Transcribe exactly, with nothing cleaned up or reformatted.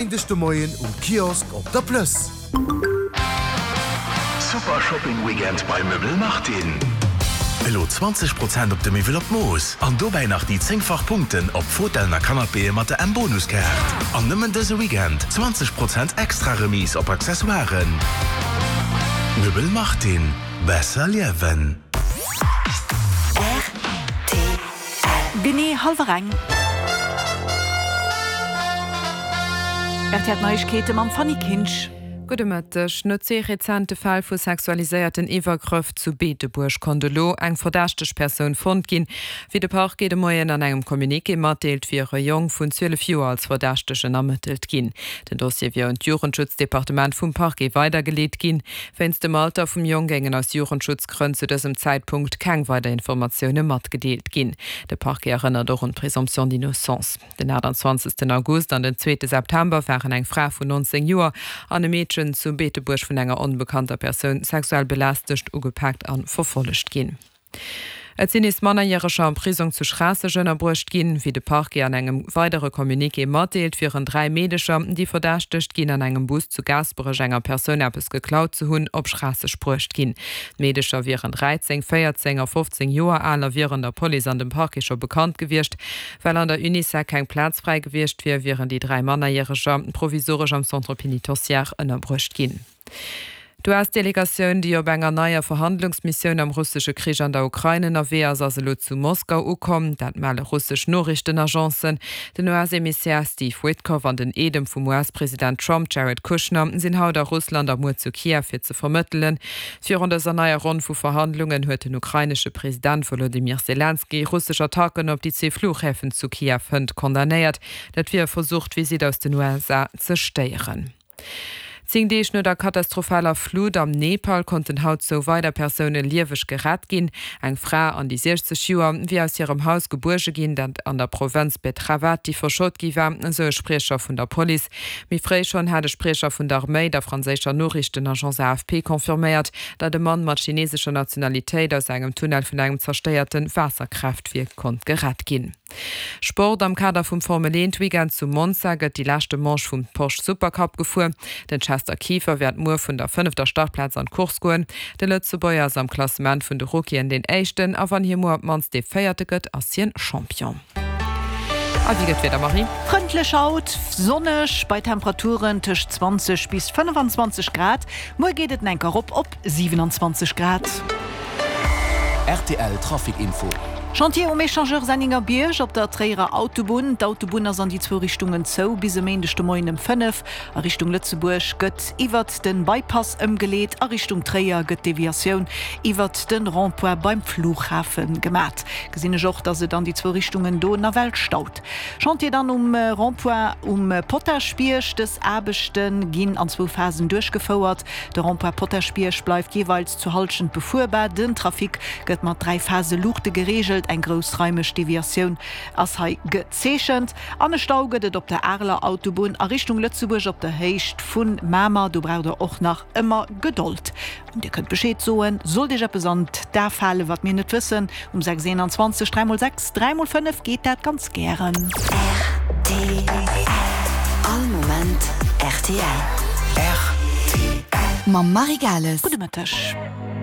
Méindeg de Moien um Kiosk op der Plëss. Super Shopping Weekend bei Möbel Martin! Elo zwanzeg Prozent op de Miwwel op d'Mooss an dobäi nach déi zéngfach Punkten op Fotellen a Canapéë mat der M-Bonuskaart. An nëmmen dëse Weekend zwanzeg Prozent extra Remise op Accessoiren. Möbel Martin, besser liewen. Rtl. Genee hallwer eng. Rtl Neiegkeete mam Fanny Kinsch. Gudde Mëtteg. No zwee rezente Fäll vu sexualiséierten Iwwergrëff zu Beetebuerg konnt elo eng verdächteg Persoun fonnt ginn. Wéi de Parquet de Moien an engem Communiqué matdeelt, wier e Jong vun zwielef Joer als Verdächtegen ermëttelt ginn. Den Dossier wier un d'Jugendschutzdepartement vum Parquet weidergeleet ginn. Wéinst dem Alter vum Jong géingen aus Jugendschutzgrënn zu dësem Zäitpunkt keng weider Informatioune matgedeelt ginn. De Parquet erënnert och un d'Présomption d'innocence. Den achtundzwanzegsten August an den zweete September waren eng Fra vun nonzéng Joer an e Meedchen zu Beetebuerg vun enger onbekannter Persoun sexuell belästegt, ugepaakt a verfollegt ginn. Et sinn nees Mannerjäreger am Prisong zu Schraasseg ënnerbruecht ginn. Wéi de Parquet an engem weidere Communiqué matdeelt, wieren dräi Meedecher, déi verdächtegt ginn, an engem Bus zu Gaasperech enger Persoun eppes geklaut ze hunn, op Schraasseg bruecht ginn. D'Meedecher wieren dräizéng, véierzéng a fofzéng Joer al a wieren der Police an dem Parquet scho bekannt gewiescht. Well an der Unisec keng Plaz fräi gewiescht wier, wieren déi dräi Mannerjäreger provisoresch am Centre pénitentiaire ënnerbruecht ginn. D'U S-Delegatioun, déi op enger neier Verhandlungsmissioun am russesche Krich an der Ukrain ënnerwee ass, ass elo zu Moskau ukomm. Dat melle russesch Noriichtenagencen. Den U S-Emissär Steve Witkoff an den Eedem vum U S-President Trump, Jared Kushner, sinn haut a Russland a muer zu Kiew fir ze vermëttelen. Virun dëser neier Ronn vu Verhandlungen huet den ukrainesche President Wolodymyr Selenskyj russesch Attacken op déi zwee Fluchhäfen zu Kiew hënt condamnéiert. Dat wier e Versuch, d'Visitt aus den U S A ze stéieren. Zéng Deeg no der katastrophaler Flut am Nepal konnten haut zwou weider Persoune lieweg gerett ginn. Eng Fra an déi siechzeg Joer wier aus hirem Haus gebuerge ginn, dat an der Provënz Betravati verschott gi war, esou e Spriecher vun der Police. Méi fréi schonn hat e Spriecher vun der Arméi der franséischer Noriichtenagence A F P confirméiert, datt e Mann mat chinesescher Nationalitéit aus engem Tunnel vun engem zerstéierte Waasserkraaftwierk konnt gerett ginn. Sport, Am Kader vum Formel eent Weekend zu Monza gëtt déi leschte Manche vum Porsche Supercup gefuer. Den Chester Kieffer wäert muer vun der fënnefter Startplaz an d'Course goen. De Lëtzebuerger ass am Klassement vun de Rookien deen éischten a wann hie muer op d'mannst dee véierte gëtt, ass hien Champion. A wéi gëtt d'Wieder, Marie? Frëndlech haut, sonneg bei Temperaturen tëscht zwanzeg bis fënnefenzwanzeg Grad. Muer geet et enk erop op siwenanzwanzeg Grad. R T L Trafic Info. Chantier um Echangeur Senningerbierg op der Tréierer Autobunn. D'Autobunn ass an déi zwou Richtungen zou bis e Méindeg de Moien ëm fënnef. A Richtung Lëtzebuerg gëtt iwwert de Bypass ëmgeleet, a Richtung Tréier gëtt d'Deviatioun iwwert de Rond-point beim Flughafen gemat. Gesinn ech och, dass et an déi zwou Richtungen do nawell staut. Chantier dann um Rond-point um Potaschbierg. Dës Aarbechte ginn an zwou Phasen duerchgefouert. De Rond-point Potaschbierg bleift jeeweils zur Hallschent befuerbar. Den Trafic gëtt mat dräi Phase Luuchte gereegelt. Eng groussraimeg Deviatioun ass hei gezeechent. An e Stau gëtt et op der Areler Autobunn a Richtung Lëtzebuerg op der Héicht vu Mamer. Do braucht der och nach ëmmer Gedold. An Dir kënnt Bescheed soen, sollt Iech eppes an d'A falen, wat mir net wëssen. Um sechs eenanzwanzeg dräi mol sechs dräi mol fënnef geet dat ganz gären. R T L. All Moment R T L. R T L. Mam Marie Gales. Gudde Mëtteg.